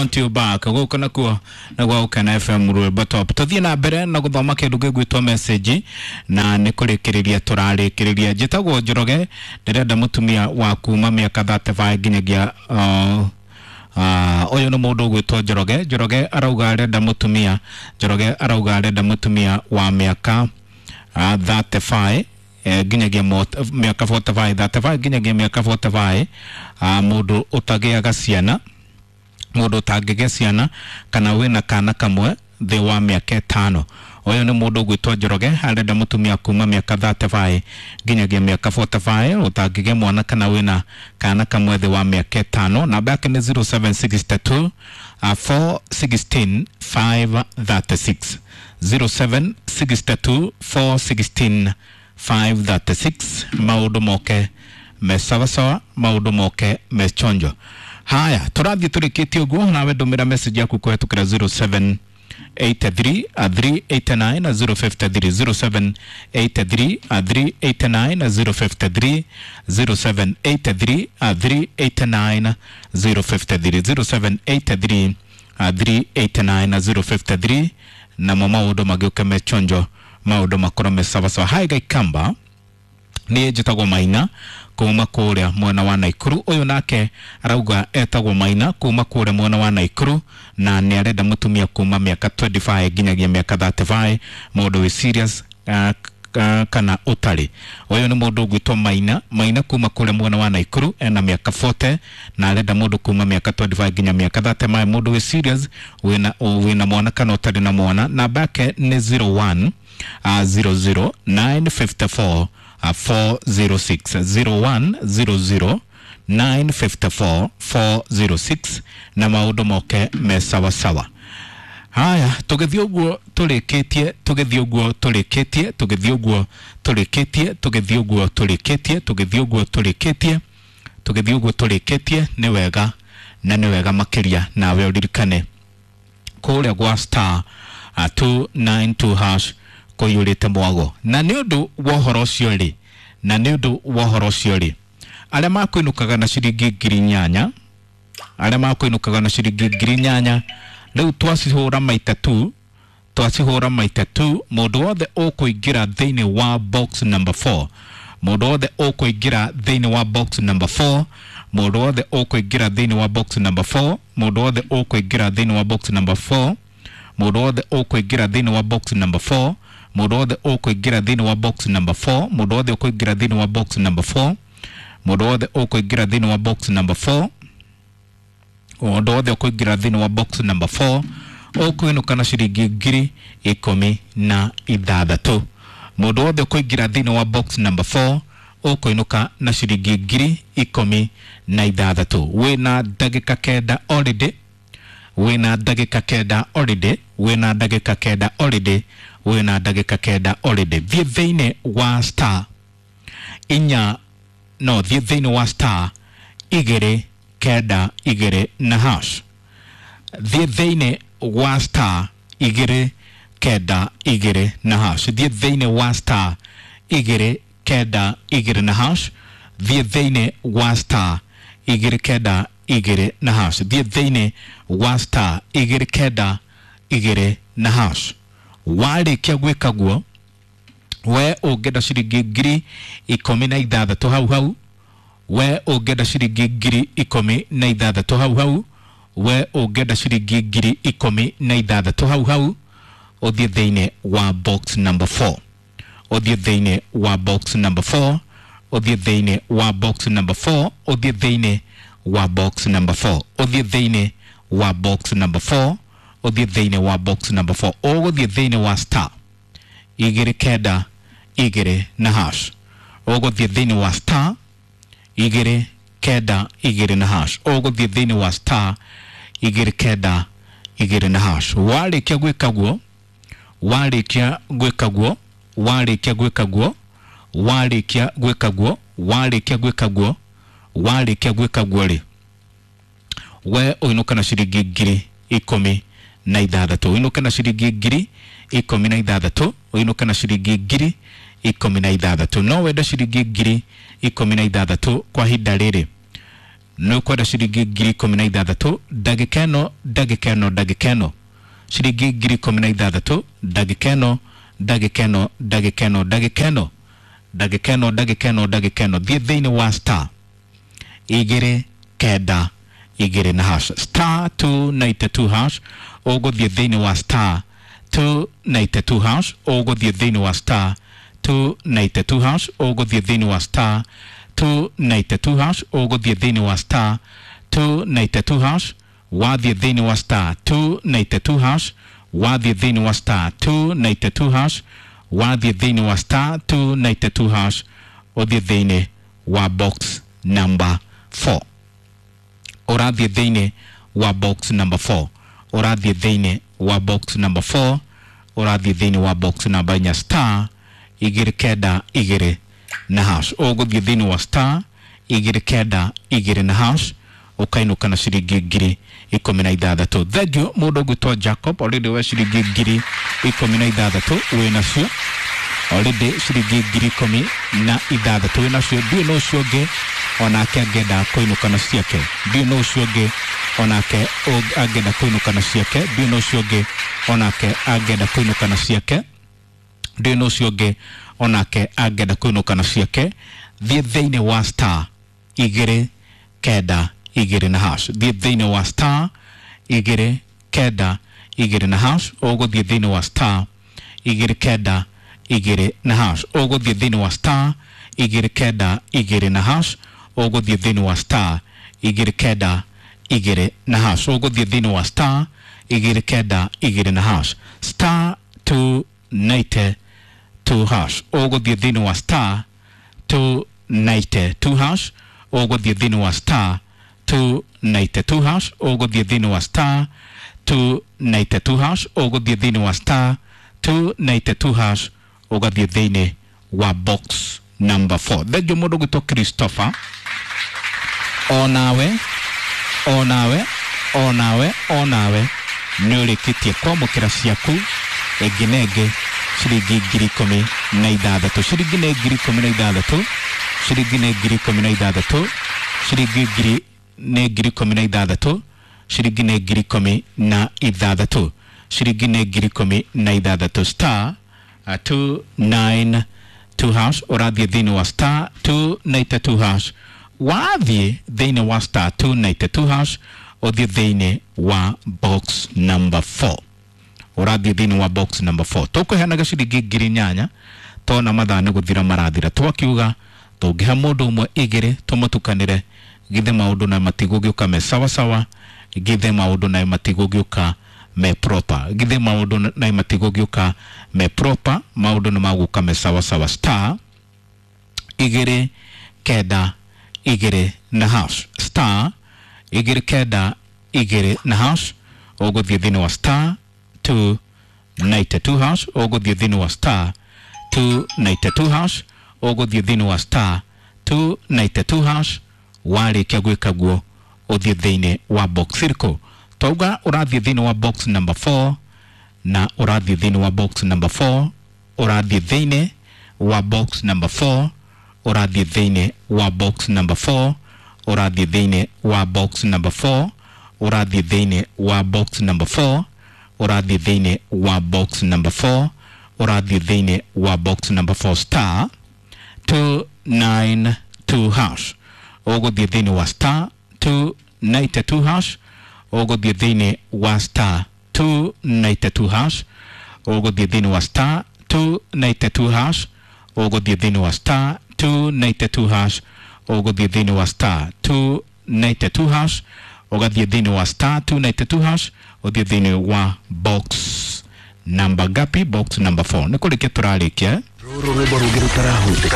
Want you back. Gũkũ nakuo nĩ gwa Gũkena FM Rwĩmbo Top. Tũthiĩ na mbere na gũthoma kĩndũ gĩgwĩtwo message na nĩ kũrĩkĩrĩria tũrarĩkĩrĩria. Njĩtagwo Njoroge, ndĩrenda mũtumia wa kuma mĩaka 35 nginyagia ũyũ nĩ mũndũ ũgwĩtwo Njoroge. Njoroge arauga arenda mũtumia, Njoroge arauga arenda mũtumia wa mĩaka 35 nginyagia mĩaka 45, 35 nginyagia mĩaka 45, mũndũ ũtagĩaga ciana, mũndũ ũtangĩgĩa ciana kana wĩna kana kamwe thĩ wa mĩaka 5. Ũyũ nĩ mũndũ ũgwĩtwo Njoroge, arenda mũtumia kuma mĩaka 35 nginyagia mĩaka 45, ũtangĩgĩa mwana kana wĩna kana kamwe thĩ wa mĩaka 5. Namba yake nĩ 0762 416 536, 0762 416 536. Maũndũ moke me sawasawa, maũndũ moke me chonjo. Haya, tũrathiĩ tũrĩkĩtie ũguo, nawe ndũmĩra message yaku kũhetũkĩra 0783 389 053, 0783 389 053, 0783 389 053, 0783 389 053. Namo maũndũ magĩũke me chonjo, maũndũ makorwo me sawasawa. Hai Gaikamba, niĩ njĩtagwo Maina kuma kũrĩa mwena wa Naikuru. Ũyũ nake arauga etagwo Maina kuma kũrĩa mwena wa Naikuru na nĩ arenda mũtumia kuma mĩaka 25 nginyagia mĩaka 35, mũndũ wĩ serious kana ũtarĩ. Ũyũ nĩ mũndũ ũgwĩtwo Maina, Maina kuma kũrĩa mwena wa Naikuru, ena mĩaka 40 na arenda mũndũ kuma mĩaka 25 nginya mĩaka 35, mũndũ wĩ serious, wĩna mwana kana ũtarĩ na mwana. Namba yake nĩ 01 00 954 406, 01 00 954 406, na maũndũ moke me sawasawa. Haya, tũgĩthiĩ ũguo tũrĩkĩtie, tũgĩthiĩ ũguo tũrĩkĩtie, tũgĩthiĩ ũguo tũrĩkĩtie, tũgĩthiĩ ũguo tũrĩkĩtie, tũgĩthiĩ ũguo tũrĩkĩtie, tũgĩthiĩ ũguo tũrĩkĩtie. Nĩ wega na nĩ wega makĩria nawe ũririkane kũrĩa gwa star 292 hash kũiyũrĩte mwago. Na nĩ ũndũ wa ũhoro ũcio rĩ, na nĩ ũndũ wa ũhoro ũcio rĩ, arĩa makũinũkaga na ciringi 8,000, arĩa makũinũkaga na ciringi 8,000, rĩu twacihũra maita tu, twacihũra maita tu. Mũndũ wothe ũkũingĩra thĩinĩ wa box number 4, mũndũ wothe ũkũingĩra thĩinĩ wa box number 4, mũndũ wothe ũkũingĩra thĩinĩ wa box number 4, mũndũ wothe ũkũingĩra thĩinĩ wa box number 4, mũndũ wothe ũkũingĩra thĩinĩ wa box number 4, mũndũ wothe ũkũingĩra thĩinĩ wa box number 4, mũndũ wothe ũkũingĩra thĩinĩ wa box number 4, mũndũ wothe ũkũingĩra thĩinĩ wa box number 4, mũndũ wothe ũkũingĩra thĩinĩ wa box number 4 ũkũinũka na ciringi 16,000. Mũndũ wothe ũkũingĩra thĩinĩ wa box number 4 ũkũinũka na ciringi 16,000. Wĩna ndagĩka 9 already, wĩna ndagĩka 9 already, wĩna ndagĩka 9 already, wĩna ndagĩka 9 already. Thiĩ thĩinĩ wa star inya, no thiĩ thĩinĩ wa star 2 9 2 na hash. Thiĩ thĩinĩ wa star 2 9 2 na hash. Thiĩ thĩinĩ wa star 2 9 2 na hash. Thiĩ thĩinĩ wa star 2 9 2 na hash. Thiĩ thĩinĩ wa star 2 9 2 na hash. Warĩkia gwĩka guo, we ũngĩenda ciringi 16,000 hau hau, we ũngĩenda ciringi 16,000 hau hau, we ũngĩenda ciringi 16,000 hau hau, ũthiĩ thĩinĩ wa box number 4, ũthiĩ thĩinĩ wa box number 4, ũthiĩ thĩinĩ wa box number 4, ũthiĩ thĩinĩ wa box number 4, ũthiĩ thĩinĩ wa box number 4, ũthiĩ thĩinĩ wa box number 4. Ũgũthiĩ thĩinĩ wa star 2 9 2 na hash. Ũgũthiĩ thĩinĩ wa star 2 9 2 na hash. Ũgũthiĩ thĩinĩ wa star 2 9 2 na hash. Warĩkia gwĩka guo, warĩkia gwĩka guo, warĩkia gwĩka guo, warĩkia gwĩka guo, warĩkia gwĩka guo, warĩkia gwĩka guo rĩ, we ũinũka na ciringi 16,000, ũinũke na ciringi 16,000, ũinũke na ciringi 16,000. No wende ciringi 16,000 kwa ihinda rĩrĩ. Nĩ ũkwenda ciringi 16,000 ndagĩka ĩno ndagĩka ĩno ndagĩka ĩno ciringi 16,000 ndagĩka ĩno ndagĩka ĩno ndagĩka ĩno ndagĩka ĩno ndagĩka ĩno ndagĩka ĩno ndagĩka ĩno. Thiĩ thĩinĩ wa star 2 9 2 na hash star 292 hash. Ũgũthiĩ thĩinĩ wa star 292 hash. Ũgũthiĩ thĩinĩ wa star 292 hash. Ũgũthiĩ thĩinĩ wa star 292 hash. Ũgũthiĩ thĩinĩ wa star 292 hash. Wathiĩ thĩinĩ wa star 292 hash. Wathiĩ thĩinĩ wa star 292 hash. Wathiĩ thĩinĩ wa star 292 hash. Ũthiĩ thĩinĩ wa box number 4. Ũrathiĩ thĩinĩ wa box number 4. Ũrathiĩ thĩinĩ wa box number 4. Ũrathiĩ thĩinĩ wa box number 4 star 2 9 2 na hash. Ũgũthiĩ thĩinĩ wa star 2 9 2 na hash ũkainũka na ciringi 16,000. Thank you mũndũ ũgwĩtwo Jacob already we ciringi 16,000 wĩ nacio already ciringi 16,000 wĩ nacio. Ndiũĩ no ũcio ũngĩ onake angĩenda kũinũka na ciake. Ndiũĩ no ũcio ũngĩ onake angĩenda kũinũka na ciake. Ndiũĩ no ũcio ũngĩ onake angĩenda kũinũka na ciake. Ndiũĩ no ũcio ũngĩ onake angĩenda kũinũka na ciake. Thiĩ thĩinĩ wa star 2 9 2 na hash. Thiĩ thĩinĩ wa star 2 9 2 na hash. Ũgũthiĩ thĩinĩ wa star 2 9 2 na hash. Ũgũthiĩ thĩinĩ wa star 2 9 2 na hash. Ũgũthiĩ thĩinĩ wa star 2 9 2 na hash. Ũgũthiĩ thĩinĩ wa star 2 9 2 na hash star 292 hash. Ũgũthiĩ thĩinĩ wa star 292 hash. Ũgũthiĩ thĩinĩ wa star 292 hash. Ũgũthiĩ thĩinĩ wa star 292 hash. Ũgũthiĩ thĩinĩ wa star 292 hash. Ũgathiĩ thĩinĩ wa box number 4. Thengiũ mũndũ ũgwĩtwo Christopher. Onawe onawe onawe onawe nĩ ũrĩkĩtie kwamũkĩra ciaku ĩngĩ na ĩngĩ ciringi 16,000. Ciringi nĩ 16,000. Ciringi nĩ 16,000. Ciringi ngiri nĩ 16,000. Ciringi nĩ 16,000. Ciringi nĩ 16,000. Star 292 hash. Ũrathiĩ thĩinĩ wa star 292 hash. Wathiĩ thĩinĩ wa star 292 hash ũthiĩ thĩinĩ wa box number 4. Ũrathiĩ thĩinĩ wa box number 4. Tũkũheanaga ciringi 8,000 tona mathaa nĩ gũthira marathira. Twakiuga tũngĩhe mũndũ ũmwe igĩrĩ tũmũtukanĩre githĩ maũndũ na matigũgĩũka me sawa sawa, githĩ maũndũ na matigũgĩũka me proper, githĩ maũndũ na matigũgĩũka me proper, maũndũ nĩ magũka me sawa sawa. Star 2 9 2 na hash star 2 9 2 na hash. Ũgũthiĩ thĩinĩ wa star 292 hash. Ũgũthiĩ thĩinĩ wa star 292 hash. Ũgũthiĩ thĩinĩ wa star 292 hash. Warĩkia gwĩka guo ũthiĩ thĩinĩ wa box ĩrĩkũ? Twauga ũrathiĩ thĩinĩ wa box number 4 na ũrathiĩ thĩinĩ wa box number 4. Ũrathiĩ thĩinĩ wa box number 4. Ũrathiĩ thĩinĩ wa box number 4. Ũrathiĩ thĩinĩ wa box number 4. Ũrathiĩ thĩinĩ wa box number 4. Ũrathiĩ thĩinĩ wa box number 4. Ũrathiĩ thĩinĩ wa box number 4 star 292 hash. Ũgũthiĩ thĩinĩ wa star 292 hash. Ũgũthiĩ thĩinĩ wa star 292 hash. Ũgũthiĩ thĩinĩ wa star 292 hash. Ũgũthiĩ thĩinĩ wa star 292 hash. Ũgũthiĩ thĩinĩ wa star 292 hash. Ũgathiĩ thĩinĩ wa star 292 hash. Ũthiĩ thĩinĩ wa box number gapi? Box number 4. Nĩ kũrĩkia tũrarĩkia. Rũrũ rwĩmbo rũngĩ rũtarahutĩka.